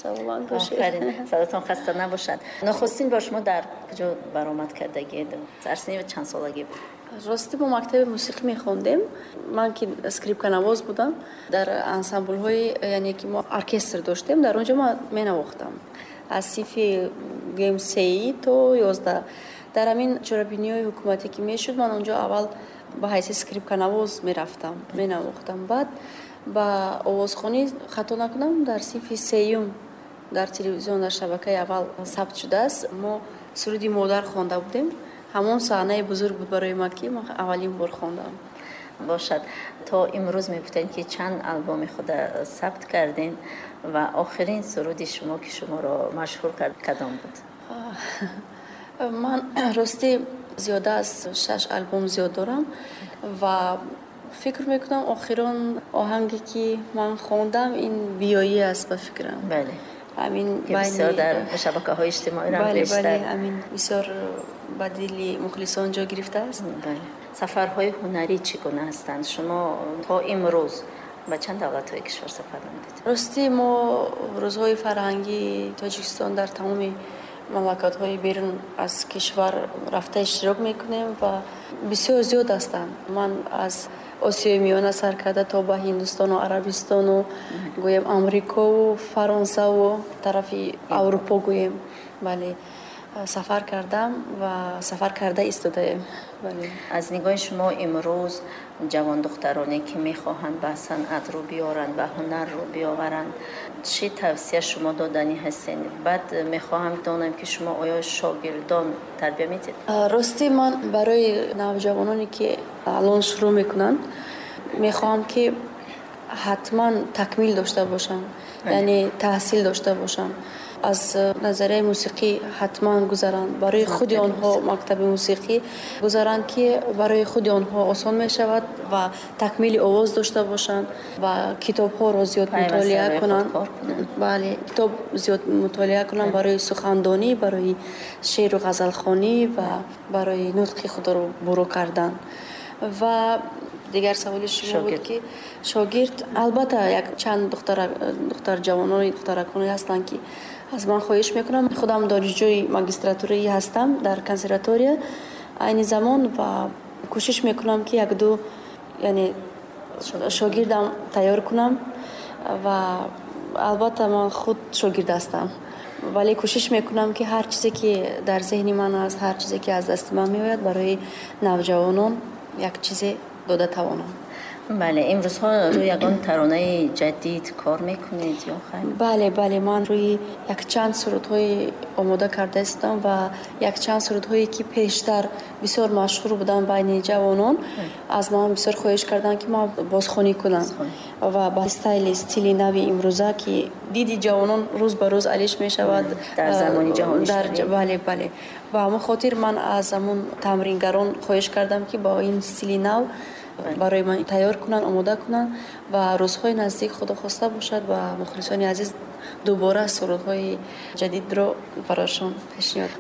Саломат бошед. Офарин, садотон хаста набошад. Нахустин бор шумо дар куҷо баромад кардагед? Дар синни чанд солагӣ буд? Рости, мо мактаби мусиқӣ мехондем. Ман ки скрипканавоз будам, дар ансамблҳои, яъне ки мо оркестр доштем, дар он ҷо ман менавохтам аз синфи, гӯем, сеӣ то 11. Дар ҳамин чорабиниҳои ҳукуматӣ ки мешуд, ман он ҷо аввал ба ҳайси скрипканавоз мерафтам, менавохтам. Баъд ба овозхонӣ, хато накунам, дар синфи сеюм дар телевизион, дар шабакаи аввал сабт шудааст, мо суруди «Модар» хонда будем. Ҳамон саҳнаи бузург буд барои ман, ки ман аввалин бор хондам. Бошад, то имрӯз мегуфтед, ки чанд албоми худа сабт кардем ва охирин суруди шумо, ки шуморо машҳур кард, кадом буд? Ман ростӣ зиёда аз шаш албом зиёд дорам ва фикр мекунам, охирон оҳанге ки ман хондам, ин «Биёӣ» аст, ба фикрам. Ҳамин. Бисёр дар шабакаҳои иҷтимоӣ. Бале, ҳамин бисёр ба дили мухлисон ҷо гирифтааст. Бале, сафарҳои ҳунарӣ чӣ гуна ҳастанд? Шумо то имрӯз ба чанд давлатҳои кишвар сафар намудед? Ростӣ, мо рӯзҳои фарҳангии Тоҷикистон дар тамоми мамлакатҳои берун аз кишвар рафта иштирок мекунем ва бисёр зиёд ҳастанд. Ман аз Осиёи Миёна сар карда то ба Ҳиндустону Арабистону, гӯем, Амрикову Фаронсаву тарафи Аврупо, гӯем, бале, сафар кардам ва сафар карда истодаем. Аз нигоҳи шумо, имрӯз ҷавондухтароне, ки мехоҳанд ба санъат рӯ биёранд, ба ҳунар рӯ биёваранд, чӣ тавсия шумо доданӣ ҳастед? Баъд мехоҳам донам, ки шумо оё шогирдон тарбия медиҳед? Ростӣ, ман барои навҷавононе, ки алон шурӯъ мекунанд, мехоҳам, ки ҳатман такмил дошта бошанд, яъне таҳсил дошта бошанд, аз назарияи мусиқӣ ҳатман гузаранд, барои худи онҳо мактаби мусиқӣ гузаранд, ки барои худи онҳо осон мешавад, ва такмили овоз дошта бошанд ва китобҳоро зиёд мутолиа кунанд. Бале, китоб зиёд мутолиа кунанд барои сухандонӣ, барои шеъру ғазалхонӣ ва барои нутқи худро бурӯ кардан. Ва дигар саволи шумо буд, ки шогирд. Албатта, як чанд духтар ҷавонони, духтараконе ҳастанд, ки аз ман хоҳиш мекунам. Худам донишҷӯи магистратураӣ ҳастам дар консерватория айни замон ва кӯшиш мекунам, ки якду, яъне шогирдам тайёр кунам. Ва албатта, ман худ шогирд ҳастам, вале кӯшиш мекунам, ки ҳар чизе ки дар зеҳни ман аст, ҳар чизе ки аз дасти ман меояд, барои навҷавонон як чизе дода тавонам. Бале, имрӯзҳо рӯи ягон таронаи ҷадид кор мекунед ё хайр? Бале, ман рӯи якчанд сурудҳои омода карда истодам ва якчанд сурудҳое, ки пештар бисёр машҳур буданд байни ҷавонон, аз ман бисёр хоҳиш карданд, ки ман бозхонӣ кунам ва ба стайли, стили нави имрӯза, ки диди ҷавонон рӯз ба рӯз алиш мешавад. Дар замони ҷаҳонӣ. Бале, ба ҳамон хотир ман аз ҳамон тамрингарон хоҳиш кардам, ки бо ин стили нав барои ман тайёр кунанд, омода кунанд ва рӯзҳои наздик, худо хоста бошад, ба мухлисони азиз дубора сурудҳои ҷадидро барошон пешниҳод.